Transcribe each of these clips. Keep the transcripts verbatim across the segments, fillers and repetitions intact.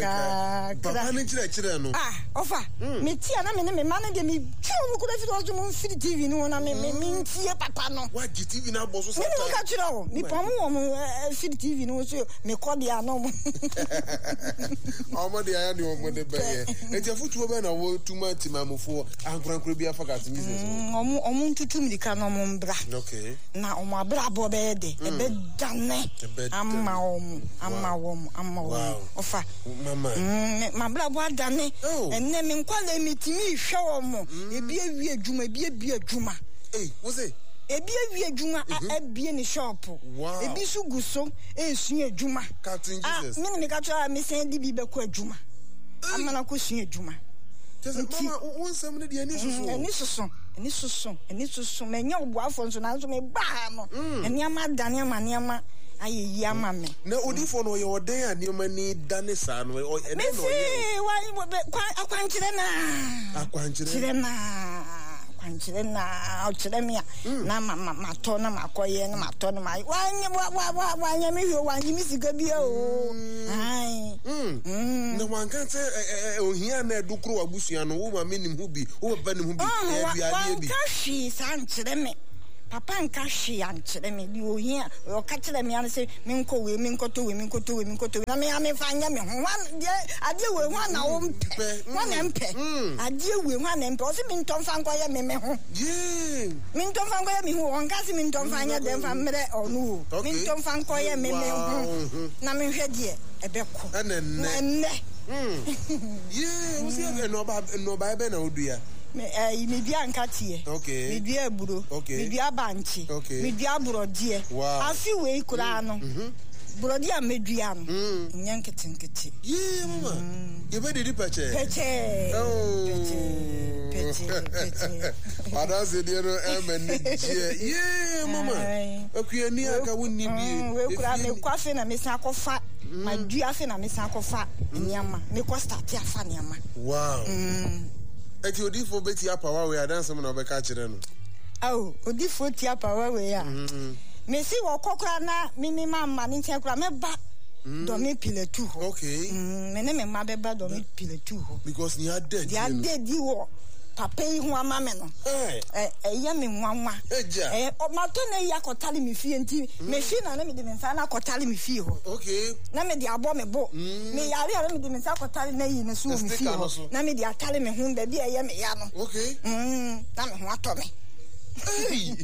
Kakra. Papa ne kyerɛkyerɛ no. Ah, ɔfa. Mm. Me ti a na me ne me ma no deɛ me twa wɔn kura firi ɔso mo mfiri T V no ho na me me me ntie papa no. Wagye T V no abɔ so saa. Me ne mo ka kyerɛ o. Me pɔn mo wɔ mo firi T V no ho so me kɔ deɛ ano mo. Ɔmo de ayɛ deɛ ɔmo de bɛyɛ. Eti afutuo bɛn na wɔtuma timamufoɔ ankorankora bi afa Captain Jesus ho? Ɔmo ɔmo ntutu mirika na ɔmo mbra. Okay. Na ɔmo abrabɔ bɛyɛ de. Ɛbɛdane ama ɔmo ama wɔn ama wɔn. Ɔfa. Mama. Mm, mabrabɔ adane. Ɛnɛ me nkwalaa metumi hwɛ wɔn. Ebi awie adwuma, ebi abie adwuma. Ei, wo se? Ebi awie adwuma abie ne shop. Wow. Ebi nso gu so esua adwuma. Captain Jesus. Ah, me ne meka kyerɛ a mesan de bi bɛkɔ adwuma. Ama no akɔsua adwuma. Nti, mama, wo nsɛm no deɛ ani soso. Ani soso, ani soso, ani soso. Manya ɔboafoɔ nso nanso meba ha no, nneɛma adane ama nneɛma ayɛ yie ama me. Na odiifoɔ no ɔyɛ ɔdɛn a nneɛma ni dane saa no? Ɛdɛn na ɔyɛ? Mesi, akwankyerɛ naa. Akwankyerɛ. Kyerɛ naa. Akwankyerɛ naa. Ɔkyerɛ me a, na ma ma matɔ na makɔyɛ na matɔ na ma wanyɛ wa wa wa wanyɛ me hwɛ wanyɛ me sika bia o. Ayi. Na wanka sɛ ohia na ɛdo koro w'abusua no, wo maame nim ho bi, wo papa nim ho bi, ɛyɛ aduadeɛ bi. Wanka hwee saa nkyerɛ me. Papa nka hwee ankyerɛ me. Deɛ ohia ɔka kyerɛ me ano sɛ menkɔ wei, menkɔtɔ wei, menkɔtɔ wei, menkɔtɔ wei na me a memfa nyɛ me ho. Hwan deɛ adeɛ wei hwan na wompɛ? Hwan na mpɛ? Adeɛ wei hwan na mpɛ? Ɔse mentɔ mfa nkɔyɛ me me ho. Mentɔ mfa nkɔyɛ me ho. Ɔnka se mentɔ mfa nyɛ dɛ mfa mmerɛ ɔno o. Mentɔ mfa nkɔyɛ me me ho na menhwɛ deɛ ɛbɛkɔ. Ɛnɛ. Na ɛnnɛ. Yee, wo se nnɔbaeɛ bɛn na wodua? Me ɛyi medua nkateɛ. Okay. Medua aburo. Okay. Medua bankye. Okay. Medua borɔdeɛ. Wow. Afe wei koraa no. Borɔdeɛ a medua no. Nyɛ nketenkete. Yee, mama. Yɛbɛdidi pɛkyɛɛ. Pɛkyɛɛ. Oh. Pɛkyɛɛ. Pɛkyɛɛ. Pɛkyɛɛ. Adanse deɛ no ɛma ni gyeɛ. Yee, mama. Akuani aka wo ni bie. Wei koraa mekɔ afe na mesan akɔfa. Madua afe na mesan akɔfa nneɛma. Mekɔ start afa nneɛma. Wow. Eti odiifo bɛti apawa wei adansɛm na ɔbɛka akyerɛ no. Awo, odiifo ti apawa wei a. Mesi wɔkɔ koraa na mimi ma mma ne nkyɛn koraa mɛba Dome Pillar two hɔ. Okay. Me ne me mma bɛba Dome Pillar two hɔ. Because nea ada adi Deɛ no. ada adi wɔ papa yi ho ama me no. Ɛyɛ me nwanwa. Agya. Ɛyɛ matɔ na yi akɔtale me fie nti mehwe na na mede me nsa na akɔtale me fie hɔ. Okay. Na mede abɔ me bo. Me yare a na mede me nsa akɔtale na yi no so wɔ me fie hɔ. Na mede atale me ho baabi a ɛyɛ me ya no. Okay. Mm, na me ho atɔ me. Hey.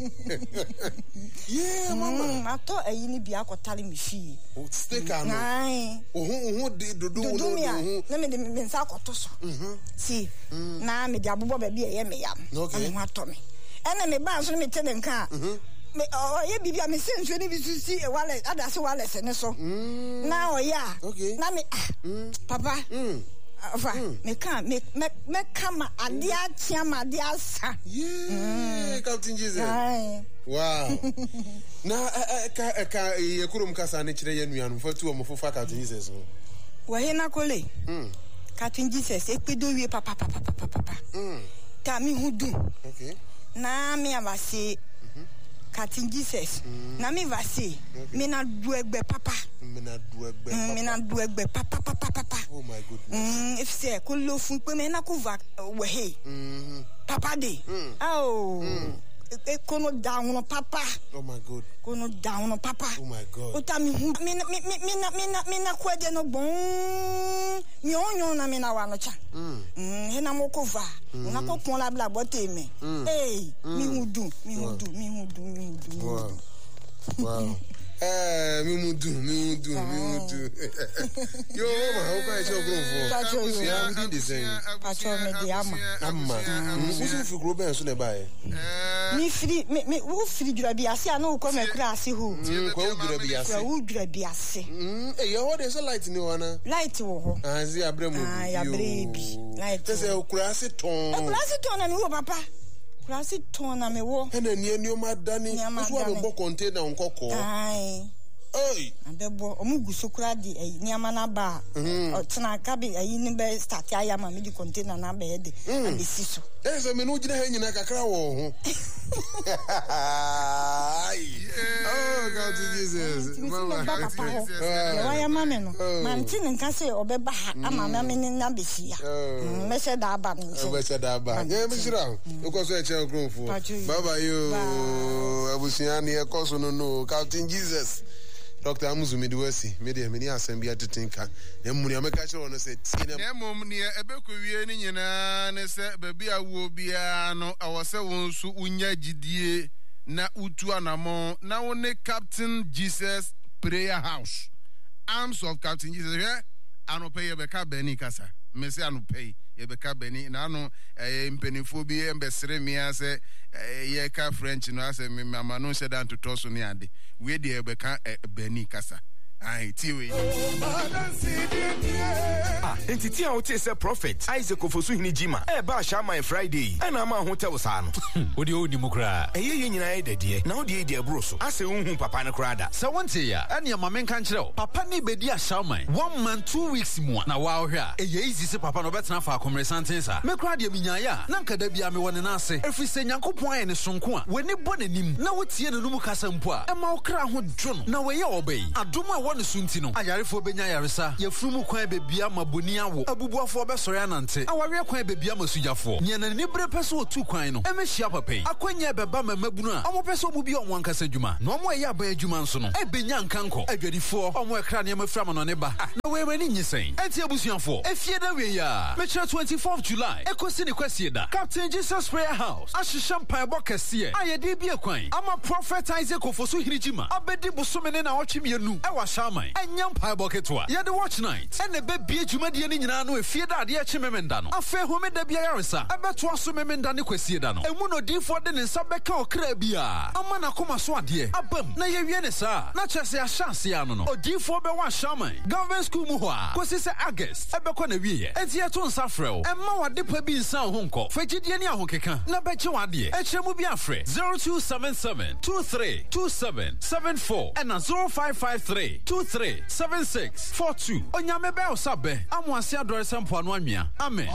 Yeah, mama. Mm, matɔ ayi no bi akɔtale me fie. Sticker no. Aye. Ohu ohu de dodo wo Dodo no me a, ohu. na mede me nsa akɔto so. Si, na mede abobɔ baabi a ɛyɛ me ya no. Okay. Na me ho atɔ me. Ɛna me ba nso no mete ne nka a, me ɔyɛ biribi a mesɛ nsuo no bi so si wireless adase wireless ne so. Na ɔyɛ a, Okay. na me ah, papa. Ɔfa, meka me me mɛka ma adeɛ akyea ma adeɛ asa. Yeah, Captain Jesus. Aye. Wow. Na ɛka ɛka yɛ kurom kasa ne kyerɛ yɛ nuanom fa tu ɔmo fofa Captain Jesus ho. Wɔhe kole. Captain Jesus ekpedo wie papa papa papa papa. Ta mi hu du. Okay. Na mi avase Captain Jesus. Na mi vase. Mi na du egbe papa. Me na du egbe papa. Mi na du egbe papa papa papa. Oh my goodness. Mm, efisɛ kolo fun pe me na ko va wɔhe. Papa de. Oh. Ekono da hono papa. Oh my God. Kono da hono papa. Oh my God. Ota mi hu mi mi mi mi na mi na mi na kwede no gbon. Mi onyon na mi na wa no cha. Mm, he na mo ko va. Na ko pon la bla bote me. Hey, mi hu du, mi hu du, mi hu du, mi hu du. Mi hu Wow. du. Wow. Eh, mi mu du, mi mu du, mi mu du. Yo, mama, wo kan kyerɛ kuromfoɔ. Pacho yo. Abusua, wodin de sɛn? Pacho me de ama. Ama. Mm, wo so firi kuro bɛn so na ɛbaeɛ? Mi firi mi mi wo firi dwura bi ase a na wokɔ mɛkura ase hɔ. Mm, kwa wo dwura bi ase. Kwa wo dwura bi ase. Mm, eh, yɛ hɔ de sɛ light ni hɔ ana? Light wɔ hɔ. Ah, nsi abrɛ mu Ah, bi. yɛabrɛ bi. Light Kyɛ sɛ wɔ hɔ. kura ase tɔn. Ekura ase tɔn na mi wɔ papa. Kura ase tɔn na mi wɔ. Ɛna nea nneɛma adane. Nneɛma Wo so adane. abɛbɔ container nkɔkɔɔ. Ae. Ei. Abɛbɔ ɔmo gu so koraa de ɛyi nneɛma no aba a ɔtena kabe ɛyi ne bɛ start ayɛ ama me de container no abɛyɛ de abɛsi so. Ɛyɛ sɛ me ne wo gyina ha nyinaa kakra wɔ wo ho. Oh, come to Jesus. Nti mesi Mama. mɛba papa hɔ. Ah. Deɛ wayɛ ma me no, Oh. mante ne nka sɛ ɔbɛba ha ama me me ne no abɛhyia. Oh. Mm, mɛhyɛ da aba ne nkyɛn. Wobɛhyɛ da aba. Ba ne Nyame nkyɛn. nhyira wo. Wokɔ so ɛkyɛn nkurɔfoɔ. Patro yi. Bye bye yo. Bye. Abusua ne ɛkɔ so no no. Captain Jesus. Doctor Amuzu mede wasi. Me deɛ mene asɛm bi atete nka. Na mmom nea mɛka kyerɛ wo no sɛ tie na Na mmom nea ɛbɛkɔwie no nyinaa ne sɛ baabi a wowɔ biara no, ɛwɔ sɛ wo nso wonya gyidie na wotu anammɔn na wo ne Captain Jesus Prayer House, Arms of Captain Jesus. Hwɛ, anɔpa yi yɛbɛka bɛni kasa. Mese anɔpa yi yɛbɛka bɛni. Na ano ɛyɛ mpanimfoɔ bi mbɛsere mmea sɛ ɛyɛ yɛka French no asɛ me mama no nhyɛ da ntotɔ so ne ade. Wei deɛ yɛbɛka ɛ bɛni kasa. Ayi tie wei. Ah, nti ti a wote sɛ Prophet Isaac Ofosuhene Gyima ɛɛba Ahyɛaman Friday yi ɛna ama ahotɛw saa no. Wo deɛ wonni mu koraa. Ɛyɛ yɛn nyinaa yɛ dɛdeɛ na wo deɛ yi deɛ ɛboro so. Asɛ wonhu papa no koraa da. Sɛ wonte a, ɛneɛ ma menka nkyerɛ wo. Papa ne bɛdi Ahyɛaman one month two weeks mu a na woahwɛ a ɛyɛ easy sɛ papa no ɔbɛtena faako mmeresanten saa. Me koraa deɛ menyaeɛ a na nka da biara mewɔ ne nan ase. Ɛfiri sɛ Nyankopɔn ayɛ ne sonko a w'ani bɔ n'anim na wotie n'anomu kasa mpo a ɛma wo kra ho dwo no. Na wɔyɛ ɔba yi adom a ɛwɔ ne so nti no ayarefoɔ bɛnya ayaresa, yɛfunu mu kwan bɛbia ma boni awo, abubuafoɔ bɛsɔre anante, awareɛ kwan bɛbia ma sugyafoɔ. Nea n'ani bere pɛ sɛ ɔtu kwan no ɛmɛhyia papa yi. Akwanya ɛbɛba ma mmabunu a ɔmo pɛ sɛ ɔmo bia ɔmo ankasa adwuma na ɔmo ɛyɛ aban adwuma nso no ɛbɛnya nkankɔ. Adwadifoɔ ɔmo ɛkra nneɛma firi amanɔne ba. Ah, na wei m'ani nye sɛn. Ɛnti abusuafoɔ, efie da wie a mekyerɛ twenty-fourth July ɛkɔsi ne kwasie da. Captain Jesus Prayer House ahyehyɛ mpaebɔ kɛseɛ a yɛde bie kwan ama Prophet Isaac Ofosuhene Gyima abɛdi bosome ne naawɔtwe mmienu ɛwɔ Ahyɛaman. Ɛnyɛ mpaebɔ ketewa. Yɛde watch night ɛna ɛbɛbie dwumadie no nyinaa no efie da adeɛ kye memenda no. Afei homeda bi ayaresa ɛbɛtoa so memenda ne kwasie da no. Emu na odiyifoɔ de ne nsa bɛka ɔkra biara ama n'akoma so adeɛ abam na yɛwie ne saa na kyerɛ sɛ yɛahyɛ aseɛ ano no. Odiyifoɔ bɛwɔ Ahyɛaman Government School mu hɔ a kɔsi sɛ August ɛbɛkɔ na wieɛ. Enti yɛto nsa frɛ wo. Ɛmma w'ade pa bi nsa wo ho nkɔ. Fa gyidie ne ahokeka na bɛgye w'adeɛ. Ɛkyerɛ mu bi afrɛ zero two seven seven two three two seven seven four ɛna zero five five three two three seven six four two. Onyame bɛyɛ wo sa bɛ amoase adɔre sɛ mpoano anwea. Amen.